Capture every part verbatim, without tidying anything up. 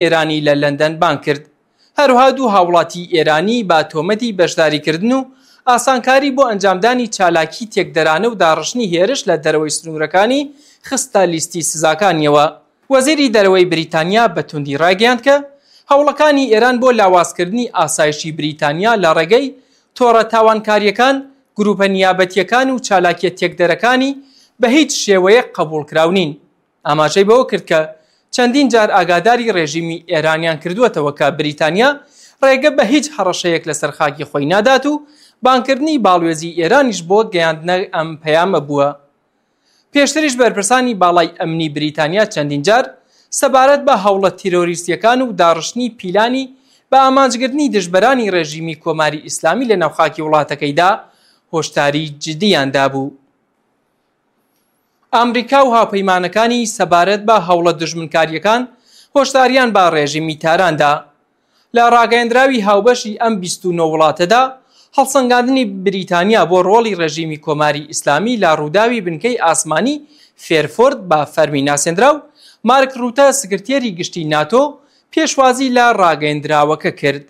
ئێرانی لە لەندەن بانگ کرد. هەروها دوو هاوڵاتی ئێرانی بە تۆمەتی بەشداریکردن و ئاسانکاری بۆ ئەنجامدانی چالاکی تێکدەرانە و داڕشتنی هێرش لە دەرەوەی سنوورەکانی خستە لیستی سزاکانیەوە. وەزیری دەرەوەی بریتانیا بە توندی ڕایگەیاند کە هەوڵەکانی ئێران بۆ لاوازکردنی ئاسایشی بریتانیا لە ڕێگەی تۆڕە تاوانکاریەکان، گروپە نیابەتیەکان و چالاکیە تێکدەرەکانی بە هیچ شێوەیەک قبوڵکراو نین. ئاماژەی بەوە کرد کە چەندین جار ئاگاداری ڕێژیمی ئێرانیان کردووەتەوە کە بریتانیا ڕێگە بە هیچ هەڕەشەیەک لەسەر خاکی خۆی نادات و بانکردنی باڵوێزی ئێرانیش بۆ گەیاندنە ئەم پەیامە بووە. پێشتریش بەرپرسانی باڵای ئەمنی بریتانیا چەندین جار سەبارەت بە هەوڵە تیرۆریستیەکان و داڕشتنی پیلانی بە ئامانجگرتنی دژبەرانی ڕێژیمی کۆماری ئیسلامی لە ناوخاکی وڵاتەکەیدا هۆشداری جدیان دابوو. ئامریکا و هاوپەیمانەکانی سەبارەت بە هەوڵە دژمنکاریەکان هۆشداریان بە ڕێژیمی تاراندا. لە ڕاگەیەندراوی هاوبەشی ئەم بیست و نۆ وڵاتەدا، هەڵسەنگاندنی بریتانیا بۆ ڕۆڵی ڕێژیمی کۆماری ئیسلامی لە ڕووداوی بنکەی ئاسمانی فێرفۆرد بە فەرمی ناسێندرا و مارک ڕوتە، سکرتێری گشتی ناتۆ، پێشوازی لە ڕاگەیەندراوەکە کرد.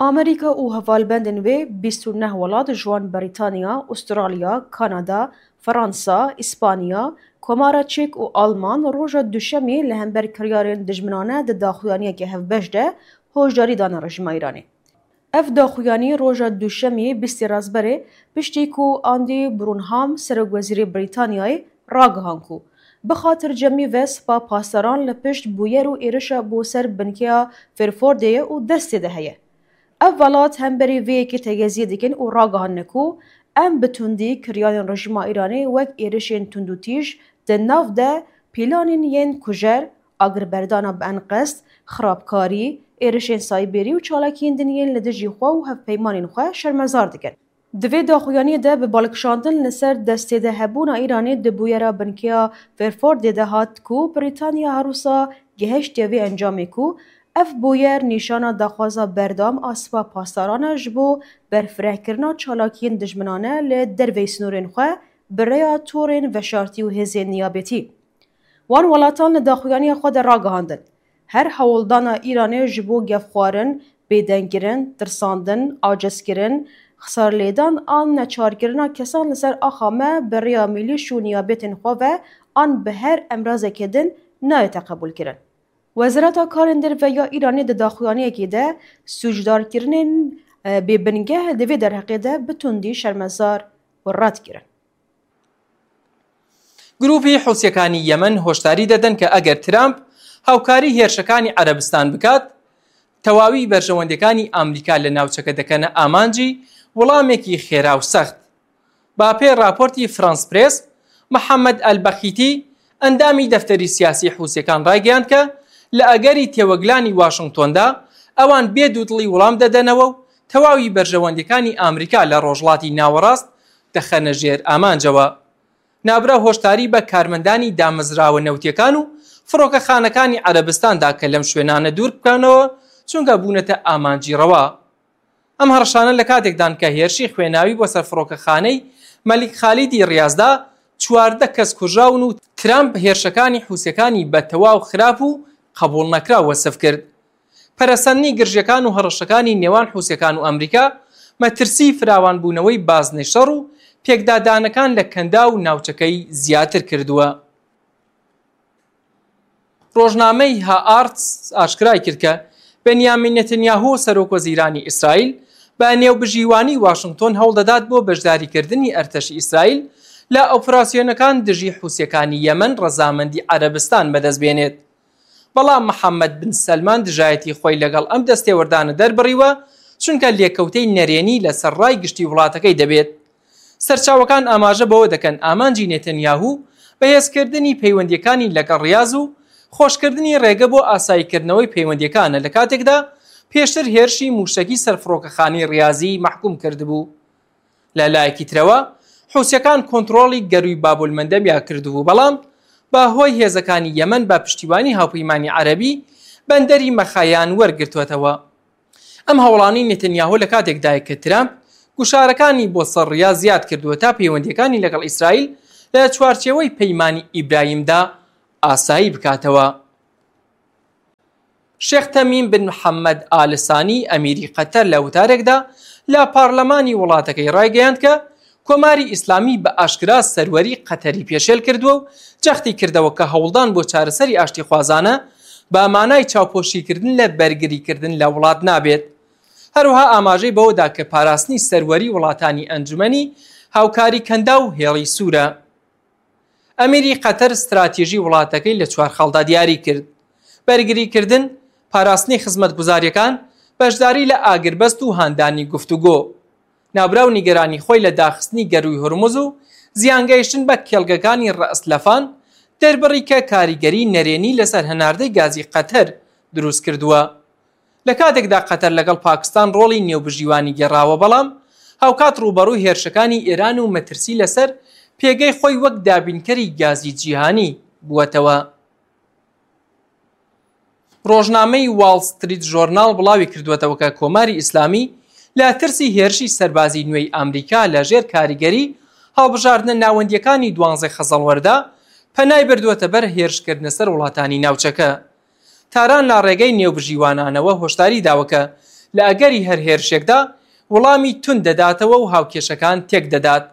ئامریکا و هەڤالبەندên wê bîst û neh welat ji wan Brîtanya, Ûstralya, Kanada, Fransa, Îspanya, Komara Çek û Alman roja Duşemê li hember kiryarên dijminane di daxuyaniyeke hevbeş de hoşdarî dane rejîma Îranê. Ev daxuyanî roja Duşemê bîstê Rezberê piştî ku Andy Burnham serokwezîrê Brîtanyayê ragihan ku bi xatircemî ve Spa Pasdaran li pişt bûyer û êrişa bo ser binkeya Fairfordê ye û destê de heye. Ev welat hemberî vê yekê tegeziyê dikin û ragihandine ku em bi tundî kiryarên rejîma Îranê wek êrişên tundûtîj di nav de pîlanên yên kujer, agirberdana bi enqest, xirabkarî, êrişên sayberî û çalakiyên din yên li dijî xwe û hevpeymanên xwe şermezar dikin. Di vê daxuyaniyê de bi balkişandin li ser destê de hebûna Îranê di bûyera binkeya Fairfordê de hat ku Brîtanya her wisa gehiştiye vê encamê ku ev bûyer nîşana daxwaza berdewam a Spa Pasdaran e ji bo berfirehkirina çalakiyên dijminane li derveyî sînorên xwe bi rêya torên veşartî û hêzên niyabetî. Wan welatan li daxuyaniya xwe de ragihandin, her hewldana Îranê ji bo gefxwarin, bêdengkirin, tirsandin, acizkirin, xisarlêdan an neçarkirina kesan li ser axa me bi rêya mîlîş û niyabetên xwe ve an bi her emrazeke din nayête qebûlkirin. Wezareta Karên Derve ya Îranê di daxuyaniyekê de sûcdarkirinên bêbingeh di vê derheqê de bi tundî şermezar û red kirin. گروپی حوسیەکانی یەمەن هۆشداری دەدەن کە ئەگەر ترامپ هاوکاری هێرشەکانی عەرەبستان بکات، تەواوی بەرژەوەندەکانی ئامریکا لە ناوچەکە دەکەنە ئامانجی وەڵامێکی خێرا و سەخت. با پێ راپۆرتی فرانس پرێس، محەممەد ئەلبەخیتی، ئەندامی دەفتەری سیاسی حوسیەکان ڕایگەیاند کە لە ئەگەری تێوەگلانی واشنگتۆندا ئەوان بێ دوودڵی وەڵام دەدەنەوە و تەواوی بەرژەوەندەکانی ئامریکا لە ڕۆژڵاتی ناوەڕاست دەخەنە ژێر ئامانجەوە. نابراو هۆشداری بە کارمەندانی دامەزراوە نەوتیەکان و فڕۆکەخانەکانی عەرەبستاندا کە لەم شوێنانە دوور بکەنەوە، چونکە بوونەتە ئامانجی ڕەوا. ئەم هەڕەشانە لە کاتێکدان کە هێرشی خوێناوی بۆ سەر فڕۆکەخانەی مەلیک خالیدی ڕیازدا چواردە کەس کوژراون و ترامپ هێرشەکانی حوسیەکانی بە تەواو خراپ و قبول نەکراو وەسف کرد. پەرەسەندنی گرژیەکان و هەڕەشەکانی نێوان حوسیەکان و ئەمریکا مەترسی فراوانبوونەوەی بازنەی شەڕ و پێکدادانەکان لە کەندا و ناوچەکەی زیاتر کردووە. ڕۆژنامەی هاآرتس ئاشکرای کرد کە بەنیامین نەتەنیاهۆ، سەرۆک وەزیرانی ئیسرائیل، بە نێوبژیوانی واشنگتۆن هەوڵ دەدات بۆ بەشداریکردنی ئەرتەشی ئیسرائیل لە ئۆپراسیۆنەکان دژی حوسیەکانی یەمەن ڕەزامەندی عەرەبستان بەدەست بێنێت. بەڵام محەممەد بن سەلمان دژایەتی خۆی لەگەڵ ئەم دەستێوەردانە دەربڕیوە، چونکە لێکەوتەی نەرێنی لەسەر ڕای گشتی وڵاتەکەی دەبێت. سەرچاوەکان ئاماژە بەوە دەکەن ئامانجی نێتەنیاهو بەهێزکردنی پەیوەندیەکانی لەگەڵ ڕیاز و خۆشکردنی ڕێگە بۆ ئاساییکردنەوەی پەیوەندیەکانە، لە کاتێکدا پێشتر هێرشی موشەکی سەر فڕۆکەخانەی ڕیازی مەحکوم کردبوو. لە لایەکی ترەوە، حوسیەکان کۆنترۆڵی گەرووی بابولمەندەبیا کردبوو، بەڵام بە هۆی هێزەکانی یەمەن بە پشتیوانی هاوپەیمانی عەرەبی بەندەری مەخایان وەرگرتووەتەوە. ئەم هەوڵانەی نێتەنیاهۆ لە کاتێکدایە کە ترامپ گوشارەکانی بۆ سەر ڕیا زیاد کردووە تا پەیوەندیەکانی لەگەڵ ئیسرائیل لە چوارچێوەی پەیمانی ئیبراهیمدا ئاسایی بکاتەوە. شێخ تەمیم بن محەممەد ئال سانی، ئەمیری قەتەر، لە وتارێکدا لە پارلەمانی وڵاتەکەی ڕایگەیاند کە کۆماری ئیسلامی بە ئاشکرا سەروەری قەتەری پێشێل کردووە و جەختی کردەوە کە هەوڵدان بۆ چارەسەری ئاشتیخوازانە بە مانای چاوپۆشیکردن لە بەرگریکردن لە وڵات نابێت. هەروەها ئاماژەی بەوەدا کە پاراستنی سەروەری وڵاتانی ئەنجومەنی هاوکاری کەنداو و هێڵی سوورە. ئەمیری قەتەر استراتیژی وڵاتەکەی لە چوار خاڵدا دیاری کرد: بەرگریکردن، پاراستنی خزمەتگوزاریەکان، بەشداری لە ئاگربەست و هاندانی گفتوگۆ. ناوبراو نیگەرانی خۆی لە داخستنی گەرووی هورمز و زیانگەیشتن بە کێڵگەکانی ڕەئس لەفان دەربڕی کە کاریگەری نەرێنی لەسەر هەناردەی گازی قەتەر دروست کردووە. لە کاتێکدا قەتەر لەگەڵ پاکستان ڕۆڵی نێوبژیوانی گێڕاوە، بەڵام هاوکات ڕوبەڕووی هێرشەکانی ئێران و مەترسی لەسەر پێگەی خۆی وەک دابینکەری گازی جیهانی بووەتەوە. ڕۆژنامەی واڵ ستریت ژۆرناڵ بڵاوی کردووەتەوە کە کۆماری ئیسلامی لە ترسی هێرشی سەربازی نوێی ئامریکا لە ژێر کاریگەری هەڵبژاردنە ناوەندیەکانی دوانزەی خەزەڵوەردا پەنای بردووەتە بەر هێرشکردنە سەر وڵاتانی ناوچەکە. تاران لە ڕێگەی نێوبژیوانانەوە هۆشداری داوە کە لە ئەگەری هەر هێرشێکدا وەڵامی تون دەداتەوە و هاوکێشەکان تێک دەدات.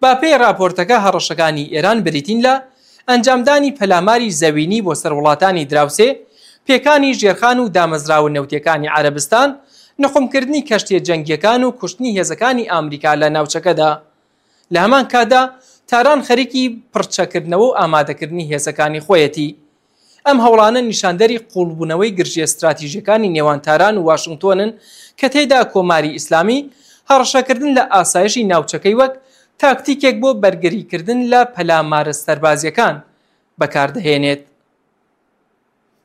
بە پێی راپۆرتەکە، هەڕەشەکانی ئێران بریتین لە ئەنجامدانی پەلاماری زەوینی بۆ سەر وڵاتانی دراوسێ، پێکانی ژێرخان و دامەزراوە نەوتیەکانی عەرەبستان، نقومکردنی کەشتیە جەنگیەکان و کوشتنی هێزەکانی ئامریکا لە ناوچەکەدا. لە هەمان کاتدا، تاران خەریکی پڕچەکردنەوە و ئامادەکردنی هێزەکانی خۆیەتی. ئەم هەوڵانە نیشاندەری قوڵبوونەوەی گرژیە استراتیژیەکانی نێوان تاران و واشنگتۆنن کە تێیدا کۆماری ئیسلامی هەڕەشەکردن لە ئاسایشی ناوچەکەی وەک تاکتیکێک بۆ بەرگریکردن لە پەلامارە سەربازیەکان بەکاردەهێنێت.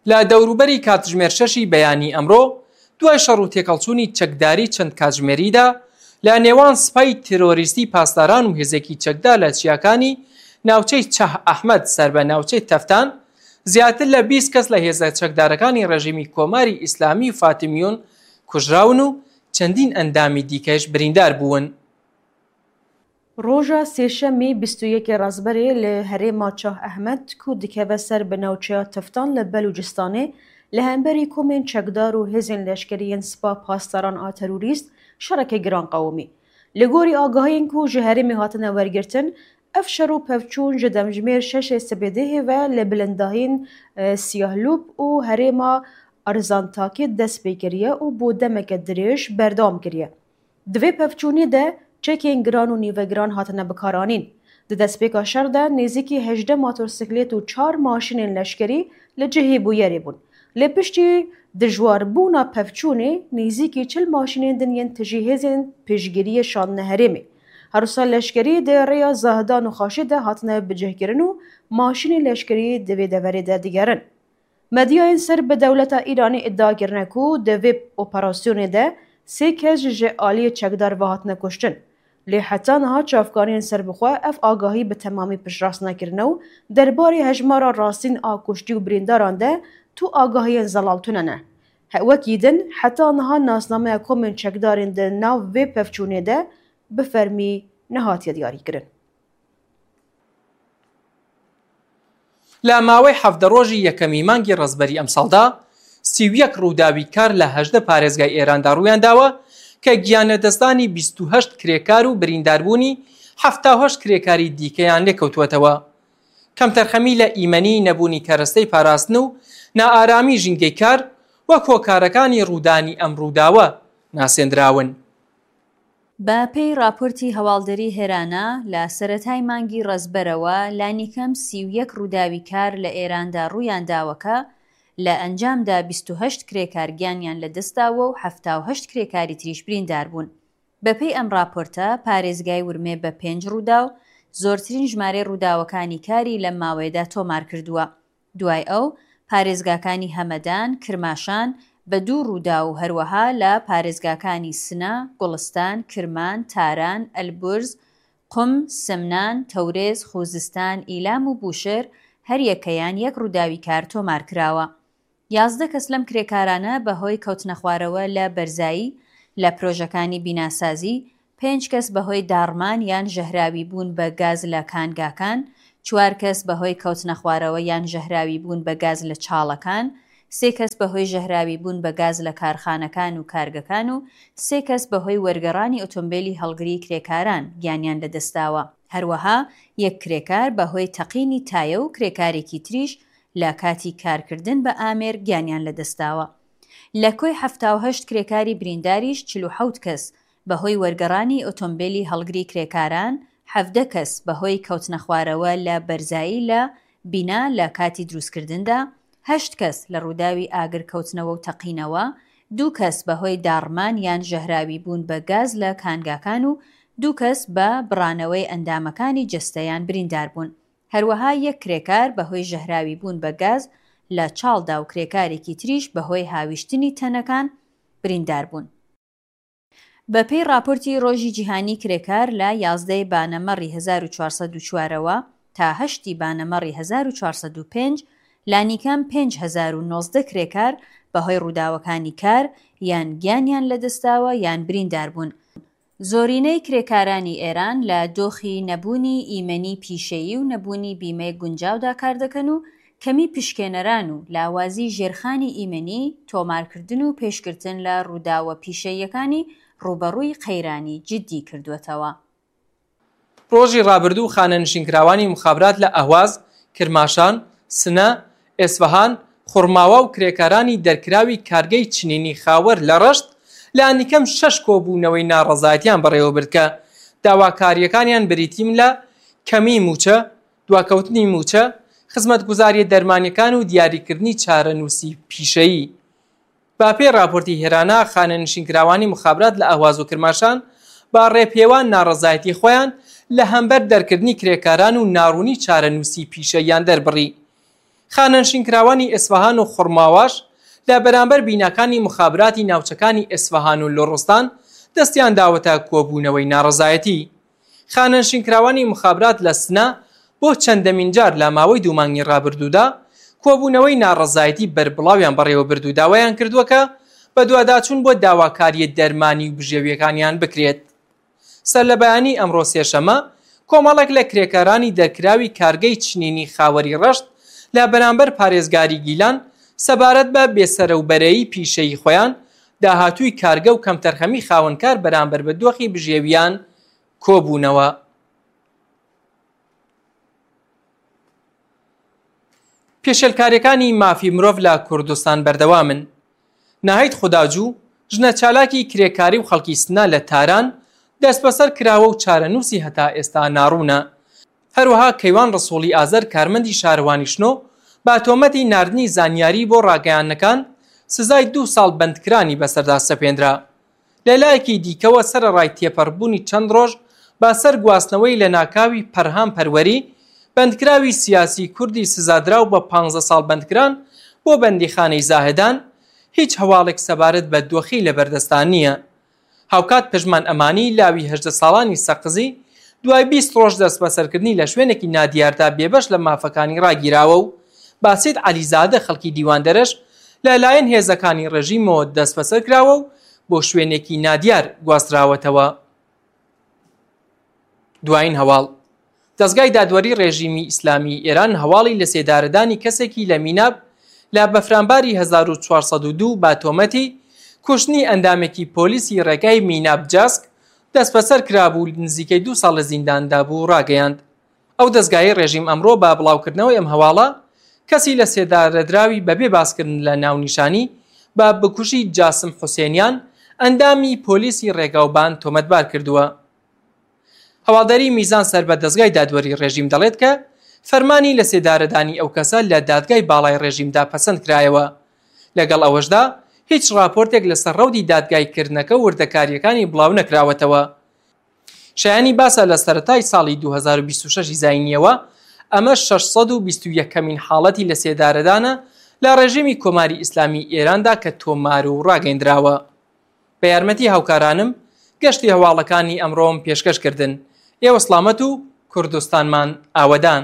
لە دەوروبەری کاتژمێر شەشی بەیانی ئەمڕۆ، دوای شەڕ و تێکەڵچوونی چەکداری چەند کاتژمێریدا لە نێوان سپای تێرۆریستی پاسداران و هێزێکی چەکدار لە چیاکانی ناوچەی چەه ئەحمەد سەر بە ناوچەی تەفتان، زیاتر لە بیست کەس لە هێزە چەکدارەکانی ڕێژیمی کۆماری ئیسلامی و فاتمیون کوژراون و چەندین ئەندامی دیکەش بریندار بوون. Roja Sêşemê bîst û yekê Rezberê li herêma Çah Ehmed ku dikeve ser bi navçeya Tiftan li Belûcistanê, li hemberî komên çekdar û hêzên leşkerî yên Spa Pasdaran a terorîst şerekê giran qewimî. Li gorî agahiyên ku ji herêmê hatine wergirtin, ev şer û pevçûn ji demjimêr şeşê sibêdehê ve li bilindahiyên Siyahlûp û herêma Arzantakê dest pê kiriye û bo demeke dirêj berdewam kiriye. Di vê pevçûnê de çekên giran û nîvegiran hatine bikaranîn. Di destpêka şer de nêzîkî hejdeh motorsîklêt û çar maşînên leşkerî li cihê bûyerê bûn. Lê piştî dijwarbûna pevçûnê nêzîkî çil maşînên din yên tijî hêzên piştgiriyê şandine herêmê. Herwisa leşkerî di rêya Zahdan û Xaşê de hatine bicihkirin û maşînên leşkerî di vê deverê de digerin. Medyayên ser bi dewleta Îranê îdia kirine ku di vê operasyonê de sê kes ji aliyê çekdar ve hatine kuştin. Lê heta niha çavkaniyên serbixwe ev agahî bi temamî piştrast nekirine û derbarê hejmara rastîn a kuştî û birîndaran de tu agahiyên zelal tune ne. He, wekî din, heta niha nasnameya komên çekdarên di nav vê pevçûnê de bi fermî nehatiye diyarîkirin. لە ماوەی حەڤدە ڕۆژی یەکەمی مانگی ڕەزبەری ئەمساڵدا، سی و یەک ڕووداوی کار لە هەژدە پارێزگای ئێراندا ڕوویان داوە کە گیانلەدەستدانی بیست و هەشت کرێکار و برینداربوونی حەفتا و هەشت کرێکاری دیکەیان لێکەوتووەتەوە. کەمتەرخەمی لە ئیمەنی، نەبوونی کەرەستەی پاراستن و نائارامی ژینگەی کار وەک هۆکارەکانی ڕوودانی ئەم ڕووداوە ناسێندراون. بە پێی راپۆرتی هەواڵدەری هێرانا، لە سەرەتای مانگی ڕەزبەرەوە لانیکەم سی و یەک ڕووداوی کار لە ئێراندا ڕوویان داوە کە لە ئەنجامدا بیست و هەشت کرێکار گیانیان لە دەستداوە و حەفتا و هەشت کرێکاری تریش بریندار بوون. بە پێی ئەم راپۆرتە، پارێزگای ورمێ بە پێنج ڕووداو زۆرترین ژمارەی ڕووداوەکانی کاری لەم ماوەیەدا تۆمار کردووە. دوای ئەو، پارێزگاکانی هەمەدان، کرماشان، بە دوو ڕووداو و هەروەها لە پارێزگاکانی سنە، گوڵستان، کرمان، تاران، ئەلبورز، قوم، سمنان، تەورێز، خوزستان، ئیلام و بوشهر هەریەکەیان یەک ڕووداوی کار تۆمار کراوە. یازدە کەس لەم کرێکارانە بەهۆی کەوتنەخوارەوە لە بەرزایی لە پرۆژەکانی بیناسازی، پێنج کەس بەهۆی داڕمان یان ژەهراویبوون بە گاز لە کانگاکان، چوار کەس بەهۆی کەوتنەخوارەوە یان ژەهراویبوون بە گاز لە چاڵەکان، سێ کەس بەهۆی ژەهراوی بوون بە گاز لە کارخانەکان و کارگەکان و سێ کەس بەهۆی وەرگەڕانی ئۆتۆمبێلی هەڵگری کرێکاران گیانیان لەدەستداوە. هەروەها یەک کرێکار بەهۆی تەقینی تایە و کرێکارێکی تریش لە کاتی کارکردن بە ئامێر گیانیان لەدەستداوە. لە کۆی حەفتا و هەشت کرێکاری برینداریش چل و حەوت کەس بەهۆی وەرگەڕانی ئۆتۆمبێلی هەڵگری کرێکاران، حەڤدە کەس بەهۆی کەوتنەخوارەوە لە بەرزایی لە بینا لە کاتی دروستکردندا، هەشت کەس لە ڕووداوی ئاگر کەوتنەوە و تەقینەوە، دوو کەس بەهۆی داڕمان یان ژەهراوی بوون بە گاز لە کانگاکان و دوو کەس بە بڕانەوەی ئەندامەکانی جەستەیان بریندار بوون. هەروەها یەک کرێکار بەهۆی ژەهراوی بوون بە گاز لە چاڵدا و کرێکارێکی تریش بەهۆی هاویشتنی تەنەکان بریندار بوون. بە پێی راپۆرتی ڕۆژی جیهانی کرێکار، لە یازدەی بانەمەڕی هەزار و چوارسەد و چوارەوە تا هەشتی بانەمەڕی هەزار و چوارسەد و پێنج، لانیکەم پێنج هەزار و نۆزدە کرێکار بەهۆی ڕووداوەکانی کار یان گیانیان لەدەستداوە یان بریندار بوون. زۆرینەی کرێکارانی ئێران لە دۆخی نەبوونی ئیمەنی پیشەیی و نەبوونی بیمەی گونجاودا کار دەکەن و کەمی پشکێنەران و لاوازی ژێرخانی ئیمەنی، تۆمارکردن و پێشگرتن لە ڕووداوە پیشەییەکانی ڕوبەڕووی قەیرانی جدی کردووەتەوە. ڕۆژی ڕابردوو خانەنشینکراوانی مخابرات لە ئەهواز، کرماشان، سنە، ئێسفەهان، خورماوا و کرێکارانی دەرکراوی کارگەی چنینی خاوەر لە ڕەشت لە ئەنیکەم شەش کۆبوونەوەی ناڕەزایەتیان بەڕێوەبرد کە داواکارییەکانیان بریتین لە کەمی مووچە، دواکەوتنی مووچە، خزمەتگوزارییە دەرمانییەکان و دیاریکردنی چارەنووسی پیشەیی. بە پێی راپۆرتی هێرانە، خانەنشینکراوانی مخابرات لە ئەهواز و کرماشان بە ڕێپێوان ناڕەزایەتی خۆیان لە هەمبەر دەرکردنی کرێکاران و ناڕوونی چارەنووسی پیشەییان دەربڕی. خانەنشینکراوانی ئێسفەهان و خورماواش لە بەرامبەر بیناکانی مخابراتی ناوچەکانی ئێسفەهان و لوڕستان دەستیان داوەتە کۆبوونەوەی ناڕەزایەتی. خانەنشینکراوانی مخابرات لە سنە بۆ چەندەمین جار لە ماوەی دوو مانگی ڕابردوودا کۆبوونەوەی ناڕەزایەتی بەربڵاویان بەڕێوەبرد و داوایان کردووە کە بەدواداچوون بۆ داواکارییە دەرمانی و بژێوییەکانیان بکرێت. سەرلەبەیانی ئەمڕۆ سێشەممە، کۆمەڵێک لە کرێکارانی دەرکراوی کارگەی چنینی خاوەری ڕەشت لە بەرامبەر پارێزگاری گیلان سەبارەت بە بێسەرەوبەرەیی پیشەیی خۆیان، داهاتووی کارگە و کەمتەرخەمی خاوەنکار بەرامبەر بە دۆخی بژێوییان کۆبوونەوە. پێشێلکارییەکانی مافی مرۆڤ لە کوردستان بەردەوامن. ناهید خوداجو، ژنە چالاکی کرێکاری و خەڵکی سنە لە تاران، دەستبەسەر کراوە و چارەنووسی هەتا ئێستا ناڕوونە. هەروەها کەیوان ڕسووڵی ئازەر، کارمەندی شارەوانی شنۆ، بە تۆمەتی ناردنی زانیاری بۆ ڕاگەیاندنەکان، سزای دوو ساڵ بەندکرانی بەسەردا سەپێندرا. لە لایەکی دیکەوە، سەرەڕای تێپەڕبوونی چەند ڕۆژ بە سەر گواستنەوەی لەناکاوی پەرهام پەروەری، بەندکراوی سیاسی کوردی سزادراو بە پانزدە ساڵ بەندکران بۆ بەندیخانەی زاهدان، هیچ هەواڵێک سەبارەت بە دۆخی لەبەردەستدا نییە. هاوکات پژمان ئەمانی، لاوی هەژدە ساڵانی سەقزی، دوای بیست ڕۆژ دەستبەسەرکردنی لە شوێنێکی نادیاردا بێبەش لە مافەکانی ڕاگیراوە و باسیت عەلیزادە، خەڵکی دیواندەرەش، لەلایەن هێزەکانی ڕێژیمەوە دەستبەسەر کراوە و بۆ شوێنێکی نادیار گواستراوەتەوە. دوایین هەواڵ. دەزگای دادوەری ڕێژیمی ئیسلامی ئێران هەواڵی لە سێدارەدانی کەسێکی لە میناب لە بەفرانباری هەزار و چوارسەد و دوو بە تۆمەتی کوشتنی ئەندامێکی پۆلیسی ڕێگای میناب جاسک دەستبەسەر کرابوو، نزیکەی دوو ساڵ لە زینداندا بوو، ڕاگەیاند. ئەو دەزگای ڕێژیم ئەمڕۆ بە بڵاوکردنەوەی ئەم هەواڵە، کەسی لە سێدارەدراوی بەبێ باسکردن لە ناونیشانی بە بکوژی جاسم حوسێنیان، ئەندامی پۆلیسی ڕێگاوبان، تۆمەتبار کردووە. هەواڵدەری میزان سەر بە دەزگای دادوەری ڕێژیم دەڵێت کە فەرمانی لە سێدارەدانی ئەو کەسە لە دادگای باڵای ڕێژیمدا پەسەند کرایەوە. لەگەڵ ئەوەشدا، هیچ ڕاپۆرتێک لەسەر ڕەوتی دادگایکردنەکە و وردەکارییەکانی بڵاو نەکراوەتەوە. شایانی باسە، لە سەرەتای ساڵی دوو هەزار و بیست و شەش ی زاینییەوە، ئەمە شەش سەد و بیست و یەکەمین حاڵەتی لە سێدارەدانە لە ڕێژیمی کۆماری ئیسلامی ئێراندا کە تۆمار و ڕاگەیندراوە. بە یارمەتی هاوکارانم گەشتی هەواڵەکانی ئەمڕۆم پێشکەش کردن. ئێوە سڵامەت و کوردستانمان ئاوەدان.